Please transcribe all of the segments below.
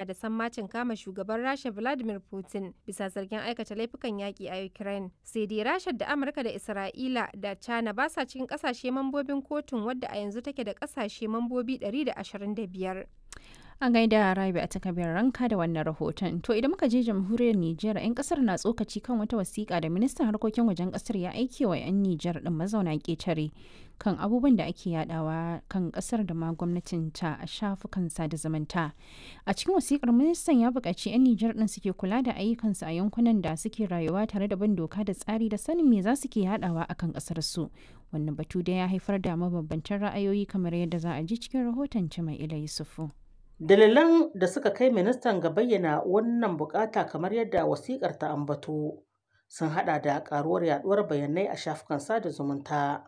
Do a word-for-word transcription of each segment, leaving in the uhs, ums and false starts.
da sammacin kama shugaban Rasha Vladimir Putin bisa zargin aikata laifukan yaƙi a Ukraine. Sai dai Rasha da Amurka da Isra'ila da China ba sa cikin ƙasashe mambobin kotun, wadda a yanzu take da ƙasashe mambobi ɗari da ashirin da biyar. A gaida Rabi a takabiyar ranka da wannan rahoton. To, idan muka je jamhuriyar Nijar, 'yan kasar na tsokaci kan wata wasiƙa da ministan harkokin wajen kasar ya aike wa 'yan Nijar din mazauna ƙetare kan abubuwan da ake yadawa kan kasar da ma gwamnatin ta a shafukan sada zumunta. A cikin wasiƙar, ministan ya buƙaci 'yan Nijar din suke kula da ayyukansu a yankunan da suke rayuwa tare da bin doka da tsari da sanin me za su ke yadawa akan kasar su. Wannan batu da ya haifar da mabambantan ra'ayoyi, kamar yadda za a ji cikin rahoton Cima'ila Yusufu. Dalilan da suka kai ministan ga bayyana wannan bukata, kamar yadda wasikar ta ambato, sun hada da karuwar yaduwar bayanai a shafukan sada zumunta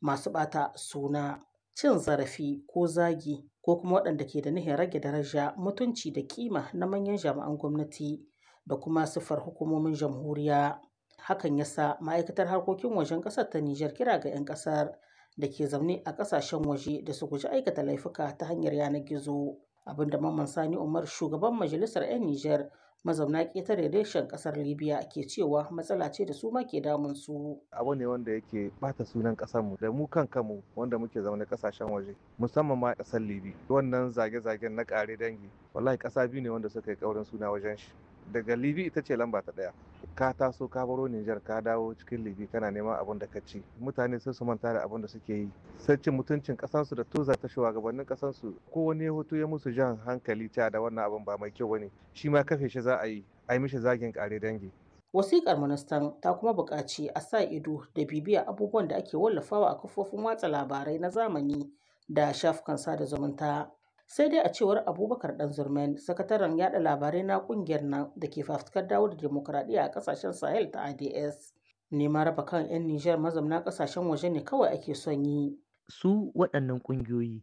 masu bata suna, cin zarafi ko zagi, ko kuma waɗanda ke da nihin rage daraja, mutunci da kima na manyan jami'an gwamnati da kuma siffar hukumomin jamhuriya. Hakan yasa ma'aikatar harkokin wajen ƙasar ta Nijar kira ga 'yan ƙasar da ke zaune a ƙasashen waje da su guji aikata laifuka ta hanyar yanar gizo. Abinda Mamman Sani Umar, shugaban majalisar 'yan Nijar mazauna ƙetare reshen ƙasar Libya, ke cewa matsala ce da su ma ke damun su. Abu ne wanda yake bata sunan ƙasarmu da mu kan kanmu wanda muke zaune ƙasashen waje, musamman ma ƙasar Libi. Wannan zage-zagen na ƙare dangi, wallahi ƙasa biyu ne wanda suka yi ƙaurin suna wajen shi. Daga Libi ita ce lamba ta ɗaya. Ka taso ka baro Nijar, ka dawo cikin Libi, kana neman abin da ka ci. Mutane sai su manta da abin da suke yi. Sai cin mutuncin ƙasansu da toza ta shugabannin ƙasansu, ko wani ya hoto ya musu jan hankali cewa da wannan abin ba mai kyau bane. Shi ma kafe shi za a yi, a yi mishi zagin ƙare dangi. Wasiƙar ministan ta kuma buƙaci a sa ido da bibiya abubuwan da ake wallafawa a kafofin watsa labarai na zamani da shafukan sada zumunta. Sai dai a cewar Abubakar Ɗanzurmen, sakataren yada labarai na ƙungiyar nan da ke fafutukar dawo da dimokuraɗiyya a ƙasashen Sahel ta A D S, neman raba kan 'yan Nijar mazamna ƙasashen waje ne kawai ake son yi. Su waɗannan ƙungiyoyi,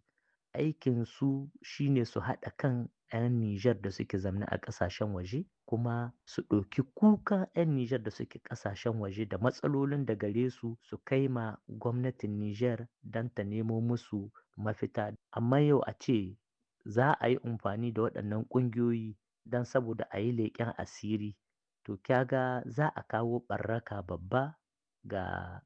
aikin su shine su haɗa kan 'yan Nijar da suke zamne a ƙasashen waje, kuma su ɗauki kuka 'yan Nijar da suke ƙasashen waje da matsalolin da gare su, su kai ma gwamnatin Nijar don ta nemo musu mafita. Amma yau a ce za a yi amfani da waɗannan ƙungiyoyi don saboda a yi leƙen asiri, to kyaga za a kawo ɓaraka babba ga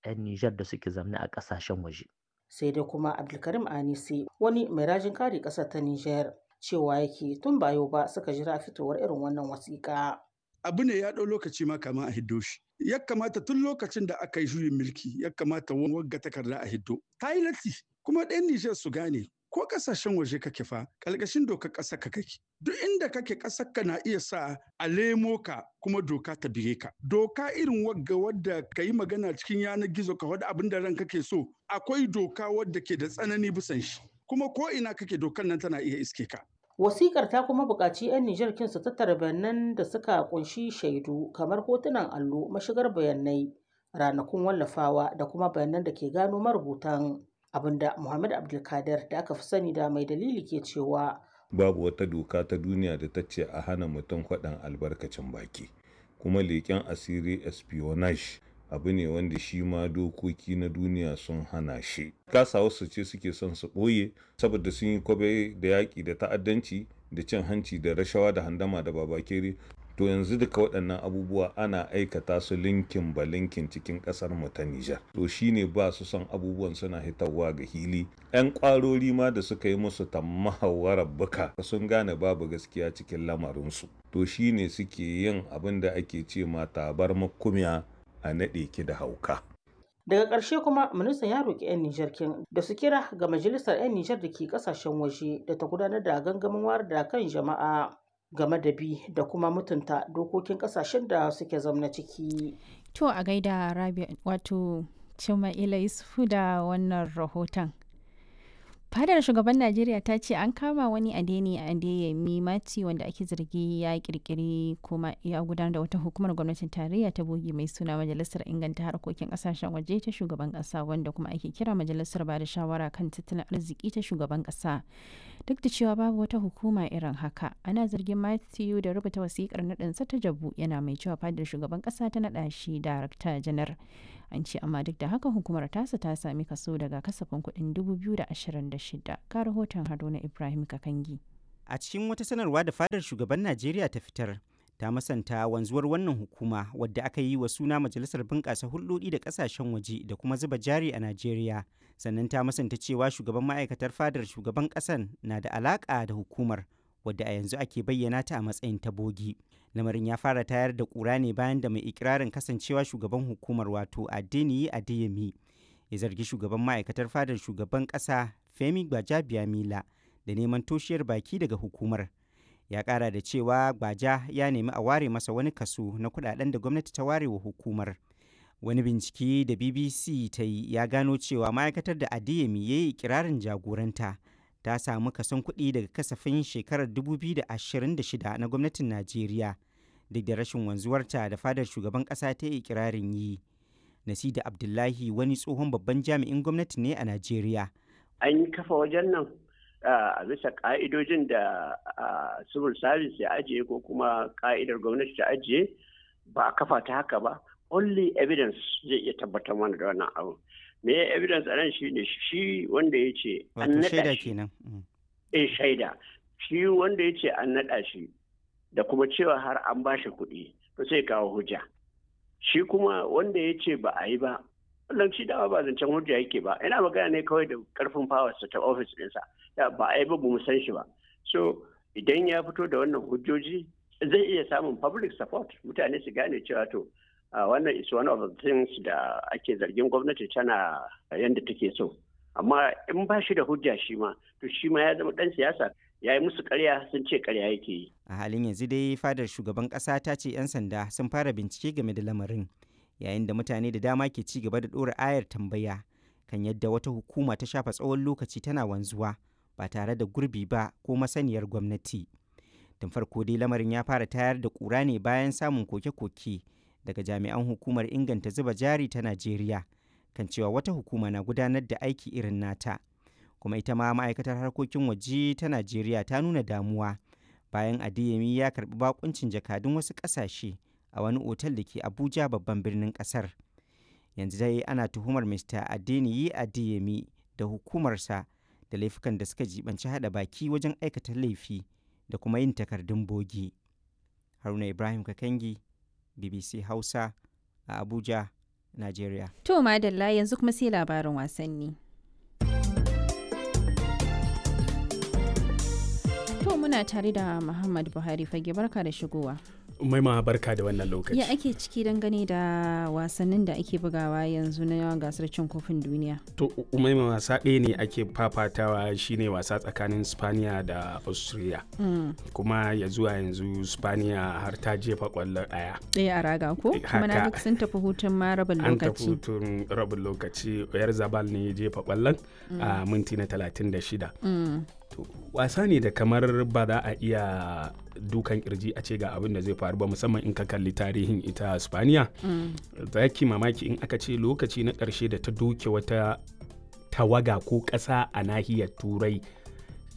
'yan Nijar da suke zamne a ƙasashen waje. Sai dai kuma Abdulkarim Anisi, wani mai rajin kare ƙasar ta Nijar, cewa yake tun ba yau ba suka jira fitowar irin wannan wasiƙa. Abu ne ya ɗau lokaci ma kama a hiddo shi. Ya kamata tun lokacin da aka yi juyin mulki ya kamata wagga takarda a hiddo. Ta yi latti, kuma ɗan Nijar su gane ko ƙasashen waje kake fa, ƙalƙashin dokar ƙasar ka kake. Duk inda kake, ƙasar ka na iya sa a lemo ka kuma doka ta bige ka. Doka irin wagga wadda ka yi magana cikin yanar gizo, ka faɗi abin da ran kake so, akwai doka wadda ke da tsanani bisan shi, kuma ko ina kake dokar nan tana iya iske ka. Wasikar ta kuma buƙaci 'yan Nijar kin su tattara bayanan da suka kunshi shaidu kamar hotunan allo, mashigar bayanai, ranakun wallafawa da kuma bayanan da ke gano marubutan. Abinda Muhammad Abdulkadir, da aka fi sani da Mai Dalili, ke cewa babu wata doka ta duniya da ta ce a hana mutum faɗin albarkacin baki, kuma leƙen asiri, espionage, abu ne wanda shi ma dokoki na duniya sun hana shi. Kasa wasu ce suke son su ɓoye saboda sun yi kwabe da yaƙi da ta'addanci da cin hanci da rashawa da handama da babakere. To yanzu duka waɗannan abubuwa ana aikata su linkin ba linkin cikin ƙasar mu ta Nijar. To shine ba su son abubuwan suna hitarwa ga hili. 'Yan ƙwarori ma da suka yi musu tammahawarar buka sun gane babu gaskiya cikin lamarinsu. To shine suke yin abin da ake ce ma tabar makumiya a naɗe ki da hauka. Daga ƙarshe kuma ministan ya roƙi 'yan Nijar kin da su kira ga majalisar 'yan Nijar da ke ƙasashen waje da ta gudanar da gangamin wayar da kan jama'a game da bi da kuma mutunta dokokin ƙasashen da suke zamna ciki. To, a gaida Rabi, wato Cima'ila Yusufu, da wannan rahoton. Fadar shugaban Najeriya ta ce an kama wani Adeni Adeyemi Mati, wanda ake zargi ya kirkiri kuma ya gudanar da wata hukumar gwamnatin tarayya ta bogi mai suna Majalisar Inganta Harkokin Kasashen Waje ta Shugaban Kasa, wanda kuma ake kira Majalisar Bada Shawara kan Tattalin Arziki ta Shugaban Kasa. Duk da cewa babu wata hukuma irin haka, ana zargin Matthew da rubuta wasikar naɗinsa ta jabu, yana mai cewa fadar shugaban kasa ta naɗa shi darakta janar. An ce amma duk da haka hukumar tasa ta sami kaso daga kasafin kuɗin dubu biyu da ashirin da shida. Ka rahoton Haruna Ibrahim Kakangi. A cikin wata sanarwa da fadar shugaban Najeriya ta fitar, ta masanta wanzuwar wannan hukuma wadda aka yi wa suna Majalisar Bunƙasa Hulɗoɗi da Ƙasashen Waje da kuma zuba jari a Najeriya. Sannan ta masanta cewa shugaban ma'aikatar fadar shugaban ƙasan na da alaƙa da hukumar wadda a yanzu ake bayyana ta a matsayin ta bogi. Lamarin ya fara tayar da ƙura ne bayan da mai ikirarin kasancewa shugaban hukumar wato Adeniyi Adeyemi ya zargi shugaban ma'aikatar fadar shugaban ƙasa Femi Gbajabiamila da neman toshiyar baki daga hukumar. Ya kara da cewa Gbaja ya nemi a ware masa wani kaso na kudaden da gwamnati ta ware wa hukumar. Wani bincike da B B C ta yi ya gano cewa ma'aikatar da Adeyemi ya yi ikirarin jagoranta ta samu kason kuɗi daga kasafin shekarar dubu biyu da ashirin da shida na gwamnatin Najeriya duk da rashin wanzuwarta da fadar shugaban ƙasa ta yi ikirarin yi. Nasida Abdullahi wani tsohon babban jami'in gwamnati ne a Najeriya. An yi kafa wajen nan a bisa ka'idojin da civil service ya ajiye ko kuma ka'idar gwamnati ta ajiye, ba a kafa ta haka ba. Only evidence zai iya tabbatar mana da wannan abu. Me evidence a nan shine shi wanda ya ce an Wato naɗa shaida shi. Kenan. Mm. Eh, shaida. Shi wanda ya ce an naɗa shi da kuma cewa har an ba shi kuɗi, to sai kawo hujja. Shi kuma wanda ya ce ba a yi ba, wannan shi dama ba zancen hujja yake ba, ina magana ne kawai da karfin power ta office ɗinsa. Da ba a yi ba, ba mu san shi ba. So idan ya fito da wannan hujjoji, zai iya samun public support, mutane su gane cewa to uh, wannan is one of the things da ake zargin gwamnati tana yanda take so. Amma in ba shi da hujja shi ma, to shi ma ya zama dan siyasa, ya yi musu karya sun ce karya yake yi. A halin yanzu dai fadar shugaban ƙasa ta ce 'yan sanda sun fara bincike game da lamarin, yayin da mutane da dama ke ci gaba da ɗora ayar tambaya kan yadda wata hukuma ta shafa tsawon lokaci tana wanzuwa ba tare da gurbi ba ko masaniyar gwamnati. Tun farko dai lamarin ya fara tayar da ƙura ne bayan samun koke-koke daga jami'an hukumar inganta zuba jari ta Najeriya kan cewa wata hukuma na gudanar da aiki irin nata. Kuma ita ma ma'aikatar harkokin waje ta Najeriya ta nuna damuwa bayan Adeyemi ya karbi bakuncin jakadun wasu kasashe a wani otal da ke Abuja, babban birnin kasar. Yanzu dai ana tuhumar Mister Adeniyi Adeyemi da hukumarsa da laifukan da suka jibanci hada baki wajen aikata laifi da kuma yin takardun bogi. Haruna Ibrahim Kakangi, B B C Hausa, a Abuja, Nigeria. To madalla, yanzu kuma sai labarin wasanni. To muna tare da Muhammad Buhari Fage, barka da shigowa. Maima, barka da wannan lokaci. Ya ake ciki dangane da wasannin da ake bugawa yanzu na gasar cin kofin duniya? To Umaima, wasa ɗaya ne ake fafatawa, shine wasa tsakanin Spaniya da Austria. Mm. Kuma ya zuwa yanzu Spaniya har ta jefa ƙwallo ɗaya. Ɗaya a raga ko? Kuma na Haka. ga sun tafi hutun ma rabin An tafi lokaci. hutun rabin lokaci, yar Zabal ne ya jefa ƙwallon a minti na talatin da shida. Mm. To, wasa ne da kamar ba za a iya dukan kirji a ce ga abin da zai faru ba, musamman in ka kalli tarihin ita Spaniya. Mm. Za ki mamaki in aka ce lokaci na ƙarshe da ta doke wata tawaga ko ƙasa a nahiyar Turai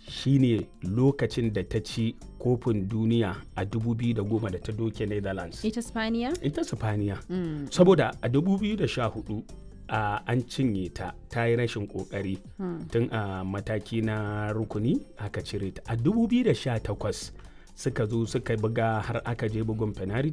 shine lokacin da ta ci kofin duniya a dubu biyu da goma da ta doke Netherlands. Ita Spaniya? Ita Spaniya. Mm. Saboda a dubu biyu da sha hudu a an cinye ta, ta yi rashin kokari Mm. tun a mataki na rukuni aka cire ta. A dubu biyu da sha takwas suka zo suka buga har aka je bugun penalty.